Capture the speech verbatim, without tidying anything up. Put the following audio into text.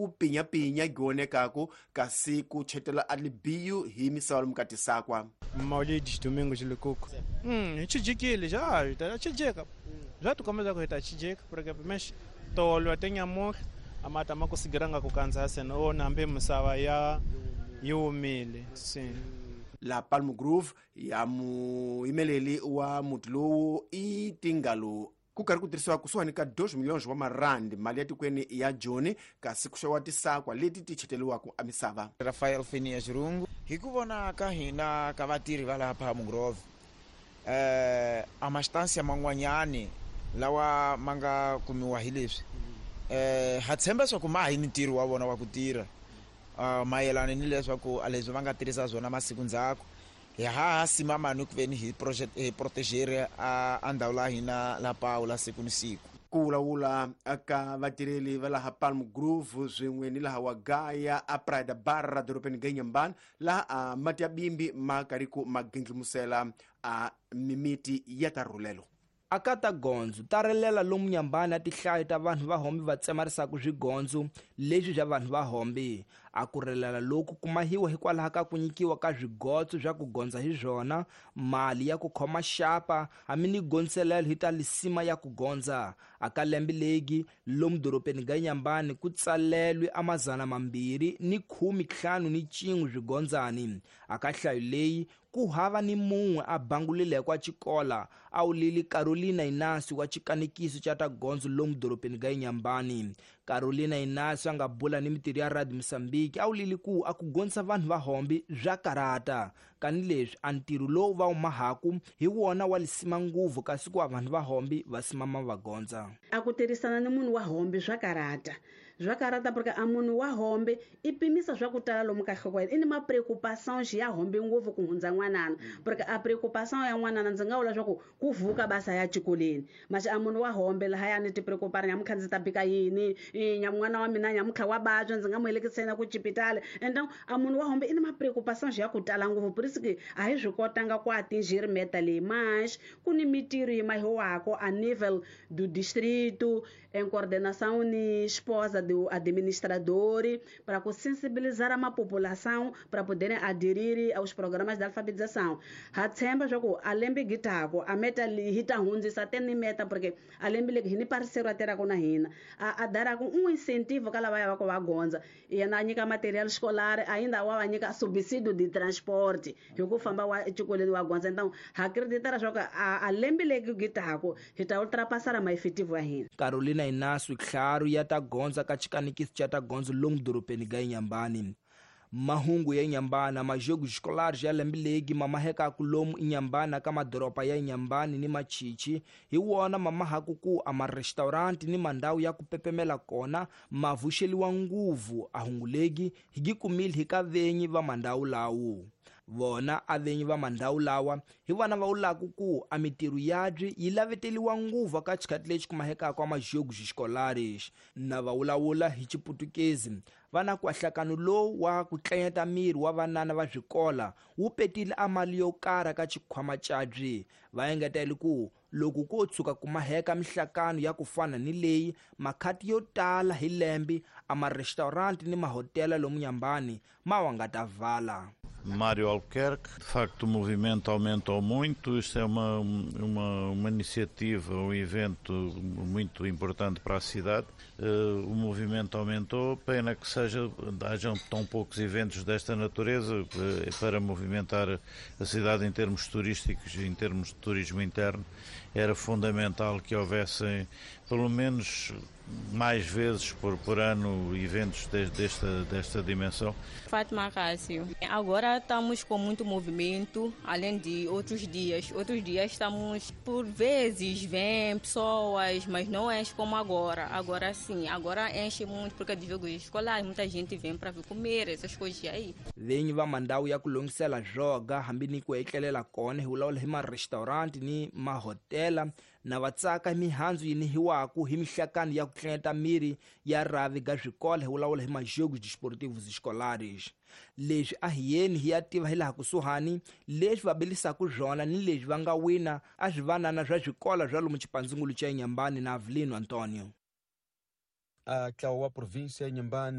ku pinyapinya gionekaku kasi ku chetela a libiyu hi misava lomu ka tisakwa. Maulidis Domingos Lukuku. Hum, chijikile já, chijika. Já tu começa a chijika porque mas tolo até nyamuka amata makusigiranga kukanza sena ona mbe misava ya yomile. Sim. La Palm Grove ya muimeleli wa muti lowu i tingalo ku karhi ku tirhisiwa kusuhani ka two milhões wa marandi mali ya tikweni ya Joni kasi ku xaviwa tisakwa leti ti cheteriwaka emisava. Rafael Phineas Rungu hi ku vona ka hina ka vatirhi va laha Palm Grove eh a masthansi man'wanyani lawa ma nga kumiwa hi leswi eh ha tshemba swa ku ma hi ntirho wa vona wa ku tirha uh, mayelana ni leswaku a leswi va nga tirhisa swona masiku ndzhaku hi ha simama ni ku veni hi project hi proteger a a ndhawu la hina la Paula siku ni siku. Ku vulavula ka vatirheli va laha Palm Grove swin'we ni laha Wagaya a Praia Barra dorobeni ga Inhambane laha a mati ya bimbi ma karhi ku ma gindlimusela a mimiti ya ta rhulelo. Aka ta gondzo ta rilela lomu Nyambani a tihlayo ta vanhu va hombi va tsemarisaka swigondzo leswi bya vanhu va hombi. A ku rilela loku kumahiwa hikwalaho ka ku nyikiwa ka swigotso swa ku gondza hi swona, mali ya ku khoma xapa hambi ni gondzelelo hi ta lisima ya ku gondza. Aka lembe legi lomu dorobeni ga Inhambane ku tsalelwe a mazana mambirhi ni khume ntlhanu ni cin'we swigondzani. Aka hlayo leyi ku hava ni mun'we a bangulileko a xikola a wulile Carolina Inácio wa xikanekiso xa ta gondzo lomu dorobeni ga Inhambane. Carolina Inácio a nga bula ni mitirho ya Radio Mozambique a wulile ku a ku gondzisa vanhu va hombi bya karata kani leswi a ntirho lowu va wu mahaku hi wona wa lisima nguvu kasi ku vanhu va hombi va simama va gondza. A ku tirhisana ni munhu wa hombi swa karata swa karata porque a munhu wa hombe i pimisa swa ku tala lomu ka nhloko ya yena i ni ma preocupações ya hombe ngopfu ku hundza n'wanana porque a preocupação ya n'wanana ndzi nga vula swa ku ku vuka basa ya xikolweni mas a munhu wa hombe lahaya ni ti preocupar nyamuntlha ndzi ta bika yini n'wana wa mina nyamuntlha wa vabya ndzi nga mu helekisela ku xipitali. Então a munhu wa hombe i ni ma preocupações ya ku tala ngopfu por isso que a hi swi kotanga ku atingir meta leyi mas ku ni mitirho yi mahiwako a nível do distrito em coordenação ni esposa do administrador para sensibilizar a população para poderem aderir aos programas de alfabetização. Ha tshemba swa ku a lembe gitako a meta hi ta hundzisa te ni meta porque a lembe legi hi ni parceiro a tirhaka na hina a a daraka um incentivo ka lava ya va ku va gondza yena a nyika material escolar ainda wa va nyika subsídio de transporte hi ku famba wa exikolweni wa gondza. Então ha acreditar swa ku a lembe legi gitako hi ta ultrapassar ma efetivo ya hina. Carolina Inácio Hlaru ya ta gondza ka xikanekiso xa ta gondzo lomu dorobeni ga Inhambane. Mahungu ya Inhambane majogos escolares ya lembe legi mamahekaku lomu Inhambane ka madoroba ya Inhambane ni Machichi hi wona mamahaku ku a marestaurant ni mandhawu ya ku pepemela kona ma vuxeliwa nguvu a hungu legi hi gi kumile hi ka venyi va mandhawu lawo. Vona a venyi va mandhawu lawa hi vona va wulaku ku a mitirho yabyi yi laveteliwa nguvu ka xikhathi lexi kumahekaka a majogos escolares. Na va wulawula hi Xiputukezi va na kwahlakano lowu wa ku tlanyeta miri wa vanana va swikola wu petile a mali yo karhi ka xikhwama cabyi. Va engetele ku loko ko tshuka kumaheka mihlakano ya ku fana ni leyi makhati yo tala hi lembe a marestaurant ni mahotela lomu Inhambane ma wa nga ta vala. Mário Albuquerque, de facto o movimento aumentou muito, isto é uma, uma, uma iniciativa, um evento muito importante para a cidade. Uh, o movimento aumentou, pena que seja, hajam tão poucos eventos desta natureza uh, para movimentar a cidade em termos turísticos, em termos de turismo interno. Era fundamental que houvessem pelo menos mais vezes por, por ano eventos de, desta, desta dimensão. Fátima Cássio, agora estamos com muito movimento, além de outros dias. Outros dias estamos, por vezes, vêm pessoas, mas não enche como agora. Agora sim, agora enche muito porque de jogos escolares, muita gente vem para vir comer, essas coisas aí. Venyi va mandhawu ya ku lunghisela zwoga hambi ni ku etlelela kona hi vulavula hi ma-restaurant ni mahotela na va tsaka mihandzu yi nihiwaku hi mihlakano ya ku tlanyeta miri ya rhavi ga swikolo hi vulavula hi majogos desportivos escolares. Leswi a hi yeni hi ya tiva hi laha kusuhani leswi va bilisaka swona ni leswi va nga wina a swi vanana swa swikolo swa lomu xipandzungulu xa Inhambane na Avelino Antonio. A ntlawa wa província ya Inhambane